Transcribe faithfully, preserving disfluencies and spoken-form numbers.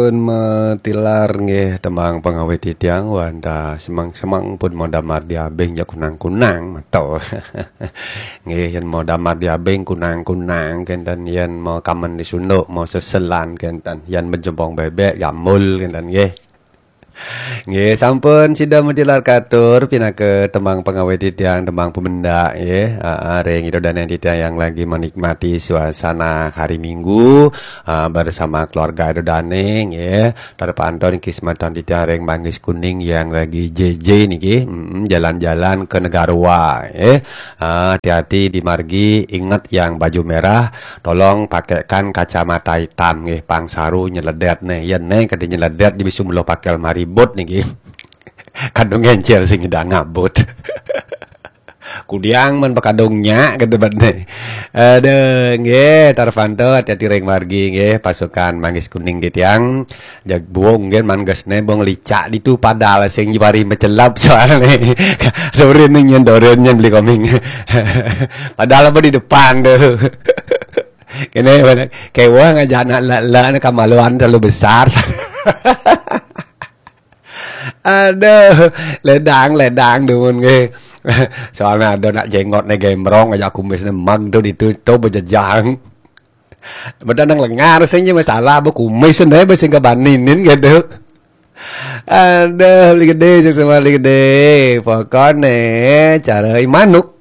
Pun matilar nggih tembang pengawit titiang wantah semang-semang pun mau damar diabing jak kunang-kunang meto. Nggih, yen mau damar diabing kunang-kunang kenten, yen mau kamen disunduk, mau seselan kenten, yen menjempong bebek jamul kenten nggih. Nggih, sampun sida matilar katur pinaka tembang pengawit titiang, tembang pemendak nggih. Aa, ring ida dane titiang yang lagi menikmati suasana hari Minggu, aa, bersama keluarga ida dane nggih. Terpantau niki semeton titiang ring Manggis Kuning yang lagi J J niki, mm, jalan-jalan ke Negarua nggih. Aa, hati-hati di margi, ingat yang baju merah, tolong pakaikan kacamata hitam nggih, pang saru nyeledet ne. Yen ne kada nyeledet, dia bisa mula pakai lemari bot niki. Kadung encer sing ida ngabut. Kudiang men pakadung nya kada bad ne. Aduh, nggih, Tarvanto, hati-hati ring margi nggih, pasukan Manggis Kuning titiang. Jag buung nggih, mangges ne bung licak ditu, padahal sing jebari mecelap soalne. Dorin nih nyen, dorin nyen beli koming. Padahal apa di depan tuh. Kene mana? Kewah ngajak anak lala ni kamaluan terlalu besar. Aduh, ledang, ledang dumun nggih. Soalnya ada nak jenggot ne gembrong aja kumis ne mag tu ditu tu bejejang. Beda nang lengar sing je masalah, ba kumis ne ba sing kebaninin gitu. Aduh, beli gede, sing sama beli gede. Pokoknya cara manuk.